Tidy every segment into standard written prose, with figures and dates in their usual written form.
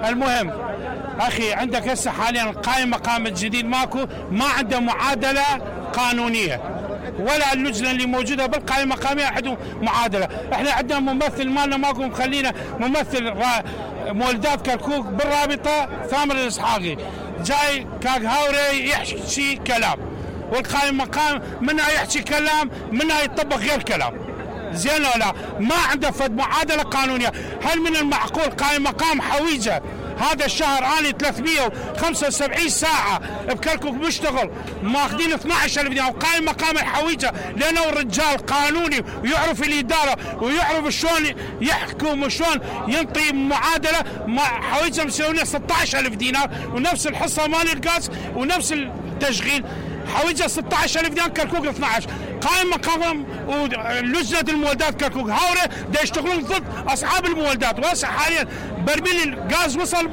المهم اخي عندك هسه حاليا قائم مقام الجديد ماكو، ما عنده معادله قانونيه، ولا اللجنه اللي موجوده بالقائمه المقاميه عندهم معادله. احنا عندنا ممثل مالنا ماكو مخلينا ممثل مولدات كركوك بالرابطه ثامر الاسحاقي، جاي كاغهاوري يحكي كلام، والقائم مقام منها يحكي كلام منها يطبق غير كلام. زين ولا ما عنده فد معادله قانونيه. هل من المعقول قائم مقام حويجه هذا الشهر اني 375 ساعه بكركوك مشتغل ماخذين 12,000 دينار، وقائم مقام الحويجه لانه الرجال قانوني ويعرف الاداره ويعرف شلون يحكم وشلون ينطي معادله، حويجه مسوي 16,000 دينار ونفس الحصه مال الغاز ونفس التشغيل، حويجه 16,000 دينار كركوك 12. قائم مقام ولجنه المولدات كركوك هاوره دا يشتغلون ضد اصحاب المولدات، وهسه حاليا برميل الغاز وصل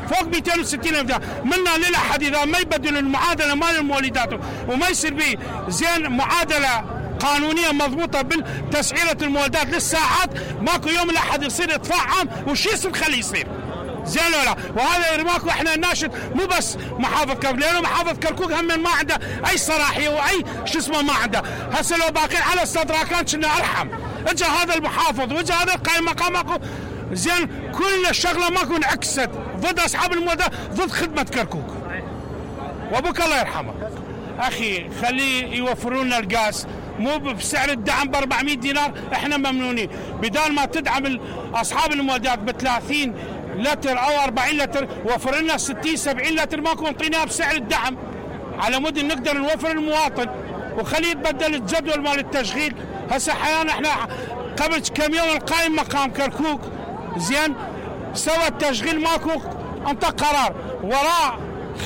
فوق 260,000 دينار. منا للاحد اذا ما يبدلوا المعادله مال المولدات وما يصير به زين معادله قانونيه مضبوطه بالتسعيره المولدات للساعات، ماكو يوم الاحد يصير ادفاع عام وش يصير خليه يصير. زين ولا؟ وهذا ماكو احنا ناشد مو بس محافظ كركوك، لانه محافظ كركوك هم ما عنده اي صلاحيه واي شو اسمه ما عنده. هسه لو باقين على استدراكان كنا ارحم. اجى هذا المحافظ واجى هذا القائم مقام ماكو زين، كل الشغله ماكو انعكست ضد اصحاب المولدات ضد خدمه كركوك. وابوك الله يرحمه. اخي خليه يوفروا لنا الغاز مو بسعر الدعم ب 400 دينار، احنا ممنونين. بدال ما تدعم اصحاب المولدات ب 30 لتر او 40 لتر وفر لنا 60 70 لتر ماكو نعطيناها بسعر الدعم على مود نقدر نوفر المواطن، وخليه يتبدل الجدول مال التشغيل. هسه حيانا احنا قبل كم يوم القائم مقام كركوك زين سوى التشغيل ماكو، انطى قرار وراء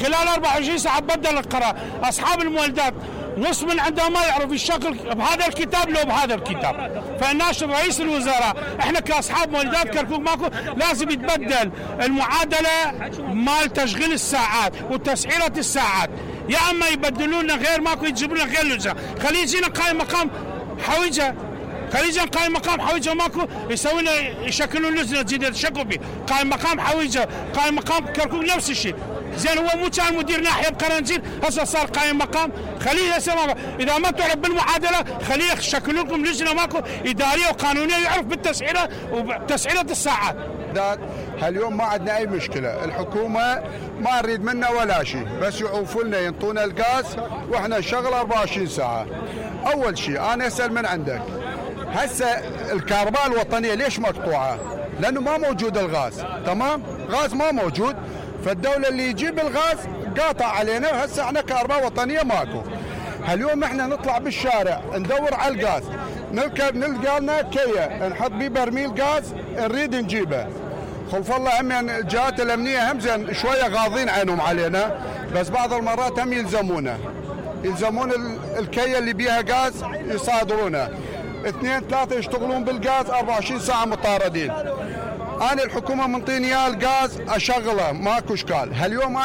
خلال 24 ساعه بدل القرار. اصحاب المولدات نص من عندهم ما يعرف يشغل بهذا الكتاب لو بهذا الكتاب. فالناشر رئيس الوزراء احنا كاصحاب مولدات كركوك ماكو لازم يتبدل المعادله مال تشغيل الساعات وتسعيره الساعات، يا اما يبدلوا لنا غير ماكو يجيبوا لنا غير لجنه. خليه يجينا قائم مقام حويجه، خليه يجينا قائم مقام حويجه ماكو يسوي لنا يشكلون لجنه جديده يشكلوا به قائم مقام حويجه. قائم مقام كركوك نفس الشيء. زين هو مو كان مدير ناحيه بقرنجيل هسه صار قائم مقام، خليه هسه اذا ما تعرف بالمعادله خليه يشكلوا لكم لجنه ماكو اداريه وقانونيه يعرف بالتسعيره وتسعيره الساعات. هاليوم ما عندنا اي مشكله، الحكومه ما نريد منا ولا شيء، بس يعوفوا لنا ينطونا الغاز واحنا نشغل 24 ساعه. اول شيء انا اسال من عندك هسه الكهرباء الوطنيه ليش مقطوعه؟ لانه ما موجود الغاز، تمام؟ غاز ما موجود، فالدولة اللي يجيب الغاز قاطع علينا، وهسه احنا كهرباء وطنية ماكو. هاليوم احنا نطلع بالشارع ندور على الغاز، نركب نلقى لنا كيا نحط بيه برميل غاز نريد نجيبه. خلف الله هم يعني الجهات الامنية هم زين شوية غاضين عينهم علينا، بس بعض المرات هم يلزمون الكيا اللي بيها غاز يصادرونه. 2 3 يشتغلون بالغاز 24 ساعة مطاردين. أنا الحكومة منطيني إياه الغاز أشغله ماكو إشكال. هاليوم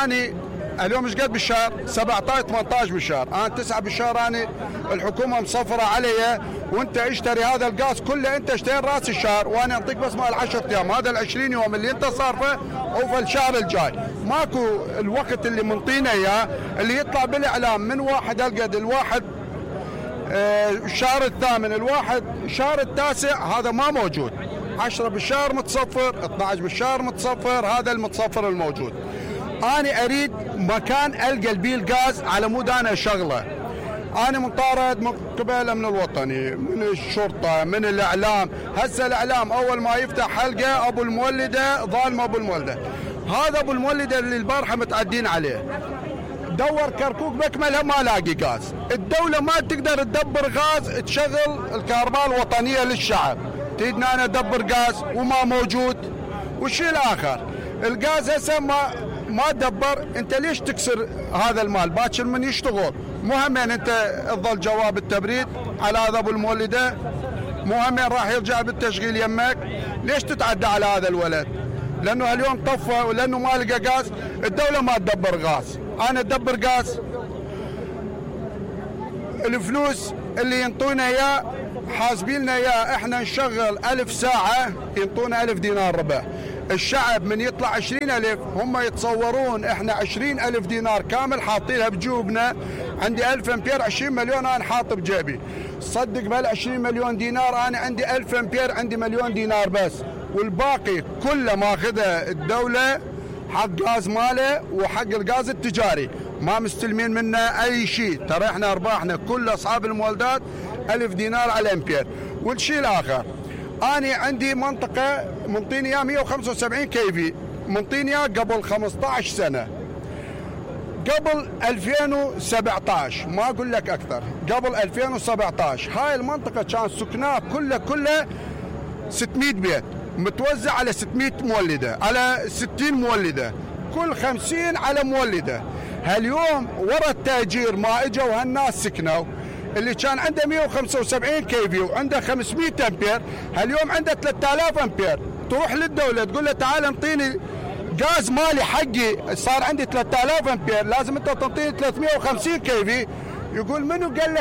اليوم إيش قد بالشهر؟ 17 18 بالشهر، أنا 9 بالشهر. أنا الحكومة مصفرة علي وأنت اشتري هذا الغاز كله، أنت اشتري راس الشهر وأنا أعطيك بس مال 10 أيام. هذا ال20 يوم اللي أنت صارفه أو في الشهر الجاي ماكو الوقت اللي منطينا إياه اللي يطلع بالإعلام من واحد هالقد الواحد الشهر الثامن الواحد الشهر التاسع، هذا ما موجود. 10 بالشهر متصفر، 12 بالشهر متصفر، هذا المتصفر الموجود. أنا أريد مكان ألقى بيه الغاز على مود أنا أشغله. أنا مطارد من قبل الأمن الوطني، من الشرطة، من الإعلام. هسه الإعلام أول ما يفتح حلقة أبو المولدة ظالم أبو المولدة. هذا أبو المولدة اللي البارحة متعدين عليه. دور كركوك بكملها ما لاقي غاز. الدولة ما تقدر تدبر غاز تشغل الكهرباء الوطنية للشعب. تريدنا أنا أدبر غاز وما موجود. والشيء الآخر الغاز هسه ما دبر، أنت ليش تكسر هذا المال؟ باكر من يشتغل مهم أنت تظل جواب التبريد على هذا أبو المولدة، مهم راح يرجع بالتشغيل يمك. ليش تتعدى على هذا الولد؟ لأنه اليوم طفى ولأنه ما لقى غاز. الدولة ما تدبر غاز، أنا أدبر غاز. الفلوس اللي ينطونا إياه حاسبين لنا إياه، إحنا نشغل 1000 ساعة ينطونا 1000 دينار ربح. الشعب من يطلع 20,000 هم يتصورون احنا 20,000 دينار كامل حاطينها بجوبنا. عندي 1000 امبير 20 مليون انا حاط بجيبي. صدق بهال 20 مليون دينار انا عندي 1000 امبير عندي مليون دينار بس، والباقي كله ماخذه الدوله حق غاز ماله وحق الغاز التجاري، ما مستلمين منه اي شيء. ترى احنا ارباحنا كل اصحاب المولدات 1000 دينار على الامبير. والشيء الاخر أنا عندي منطقة منطيني إياه 175 كيفي، منطيني إياه قبل 15 سنة، قبل 2017 ما أقول لك أكثر، قبل 2017 هاي المنطقة كان سكنها كله 600 بيت متوزع على 600 مولدة، على 60 مولدة، كل 50 على مولدة. هاليوم ورا التأجير ما اجوا هالناس سكنوا، اللي كان عنده 175 كيفي وعنده 500 امبير هاليوم عنده 3000 امبير. تروح للدولة تقول له تعال انطيني غاز مالي حقي صار عندي 3000 امبير، لازم انت تنطيني 350 كيفي. يقول منو قال لك